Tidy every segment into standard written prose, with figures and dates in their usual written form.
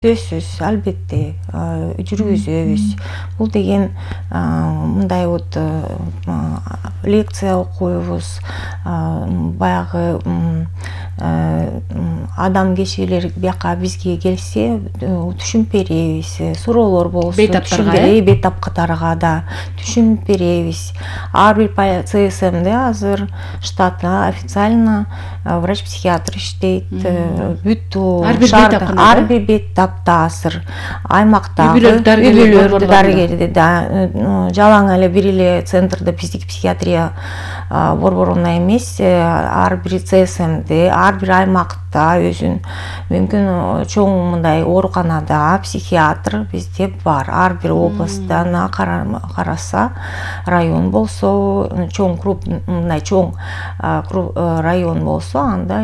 Сөзсүз, албетте, жүргүзөбүз. Бул деген мындай вот лекция окуйбуз, баягы адам кишилер бияка бизге келсе түшүнүп беребиз. Суроолор болсо бейтаптарга да түшүнүп беребиз. Ар бир ЦСМде азыр штатта официально врач-психиатр иштейт. Бүт ар бир бейтап азыр аймактагы үй-бүлөлөрдө дарыгерди да жалаң эле бир эле центрде психиатрия борборуна эмес, ар бир ЦСМде, ар бир аймакта өзүн мүмкүн чоң мындай ооруканада психиатр бизде бар. Ар бир областтан караса, район болсо, мындай чоң район болсо, анда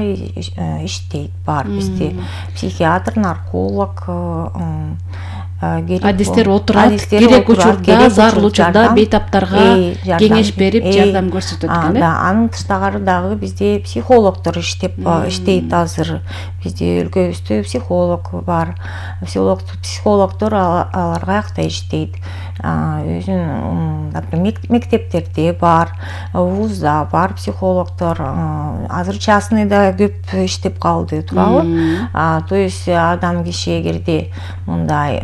иштейт бар бизде психиатр, нарколог адистер отурат, керек учурда, зарыл учурда бейтаптарга кеңеш берип, жардам көрсөтөт экен. Да, анын тышкары дагы бизде психологдор иштейт азыр. Бизде өлкөбүздө психолог бар. Психологдор алар каякта иштейт? Өзүнүн мектептерде бар, вузда бар психологдор. Азыр частныйда көп иштеп калды, туурабы? То есть адам киши эгерде мындай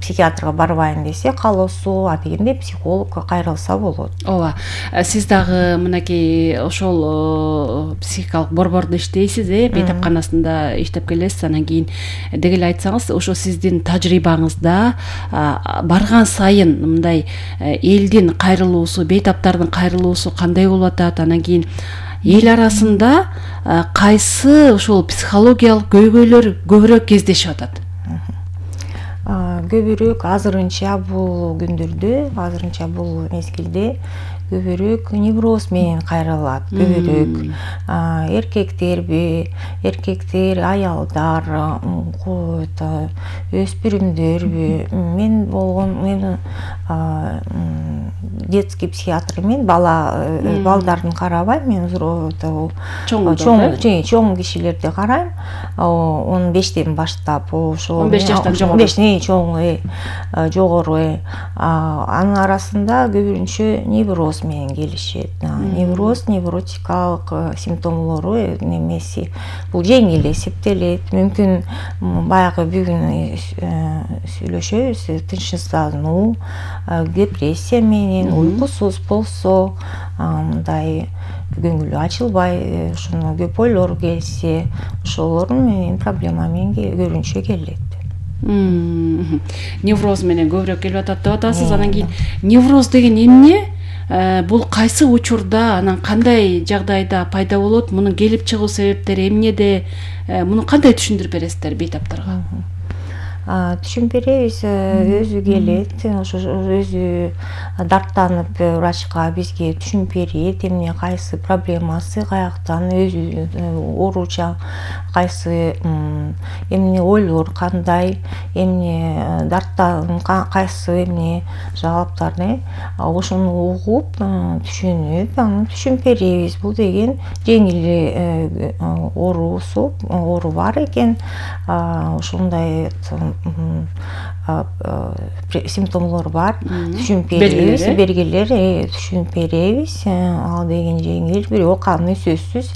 психиатрга барбайм десе, каалоосу адегенде психологко кайрылса болот. Ооба. Сиз дагы мынакей ошол психикалык борбордо иштейсиз, бейтапканасында иштеп келесиз. Анан кийин деги эле айтсаңыз, ошо сиздин тажрыйбаңызда барган сайын мындай элдин кайрылуусу, бейтаптардын кайрылуусу кандай болуп атат? Анан кийин эл арасында кайсы ошол психологиялык көйгөйлөр көбүрөөк кездешип атат? Көбүрөөк азырынча бул күндөрдө, азырынча бул мезгилде көбүрөөк невроз менен кайрылат. Көбүрөөк эркектер, аялдар, өспүрүмдөр. Мен детский психиатр мен балдарын карабайм, мен чоң кишилерди карайм. 15тен баштап, ошо 15 жаштан чоң жогору. Анын арасында көбүнчө невроз менен келишет. Невроз, невротикалык симптомлору немеси бул жеңил эсептелет. Мүмкүн баягы бүгүн сүйлөшөбүз, тынчсыздануу, депрессия менен, уйкусуз болсо, мындай көңүлү ачылбай, ошону көп ойлор келсе, ошолор менен проблема менен көбүнчө келет. Невроз менен көбүрөөк келип атат деп атасыз. Анан кийин невроз деген эмне? Бул кайсы учурда, анан кандай жагдайда пайда болот? Мунун келип чыгуу себептери эмнеде? Муну кандай түшүндүрүп бересиздер бейтаптарга? Түшүнүп беребиз, өзү келет, ошо өзү дарттанып врачка бизге түшүнүп берет, эмне кайсы проблемасы, каяктан өзү ооруча, кайсы эмне ойлор кандай, эмне дарттан кайсы эмне жагаптарды, ошону угуп, түшүнүп, аны түшүнүп беребиз. Бул деген жеңил оору бар экен, ошондой симптомлор бар, түшүнүп беребиз, белгилер түшүнүп беребиз. Ал деген жеңил, бирок аны сөзсүз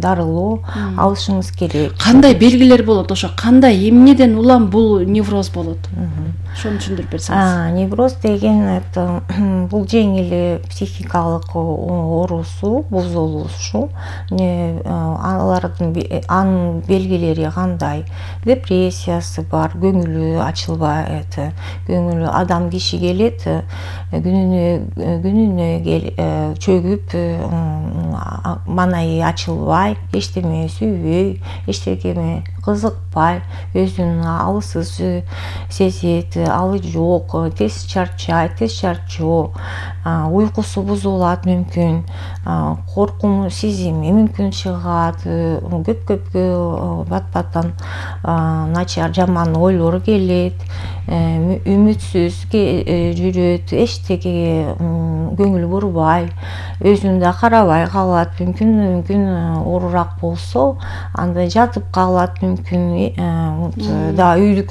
дарылоо алышыңыз керек. Кандай белгилер болот? Ошо кандай, эмнеден улам бул невроз болот? Ошону түшүндүрүп берсеңиз. Невроз деген бул жеңил психикалык оорусу, бузулушу. Анын белгилери кандай? Депрессиясы бар, көңүлү ачылбайт, көңүлү адам киши келет, күнүнө чөгүп, маанайы ачылбай, эчтеме сүйбөй, эчтекеме кызыкпай, өзүн алсыз сезет, алы жок, тез чарчайт, тез чарчоо, уйкусу бузулат мүмкүн, коркуу сезими мүмкүн чыгат, көп бат-баттан начар, жаман ойлор келет, үмүтсүз жүрөт, эчтекеге көңүл бурбай, өзүн да карабай калат, мүмкүн оорураак болсо, анда жатып калат, мүмкүн дагы үйдүкү